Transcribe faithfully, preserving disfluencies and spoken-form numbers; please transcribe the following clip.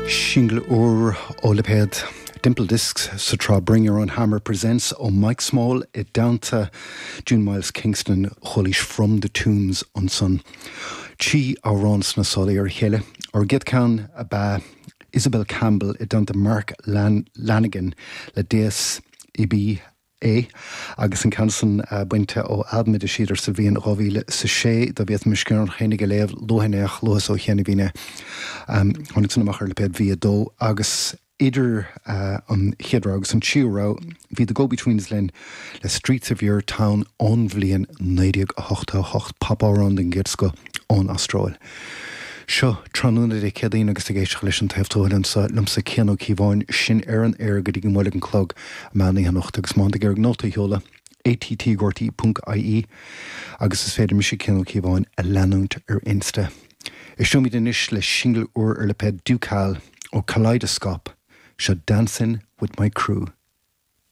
Singil úr ó lipéad Dimple Discs sa tsraith Bring Your Own Hammer Presents ó Mike Small i dteannta June Miles Kingston chualaís From the Tombs ansan. Trí amhrán sna sála ar a chéile. An chéad cheann ab ea Isabel Campbell i dteannta Mark Lan Lanigan le Deus Ibi é agus an ceann san uh, bainte ó albam a d'eisíodar sa bhliain dhá mhíle sa sé dá bhféadfainn mo sciorrán féinig a léamh luath luath ó chian a bhí um, tháinig san amach ar lipéad V a dó agus idir uh, an chéad rogha agus an tríú rogha bhí The Go-Betweens linn le Streets of Your Town ón bhliain naoi déag a hocht a hocht popamhrán den gcéad scoth ón Astráil. Seo tráthnóna Dé Céadaoin agus ag éisteacht leis an Taobh Tuathail anseo liomsa Cian Ó Cíobháin sin ar an aer go dtí go mbuailfidh an clog meán oíche anocht agus má tá tú ag iarraidh nóta a sheoladh att.rte.ie agus is féidir mise Cian Ó Cíobháin a leanúint ar Insta. Éisteoimid anois le singil úr ar lipéad Ducal ó Kaleidoscope seo Dancing with my crew.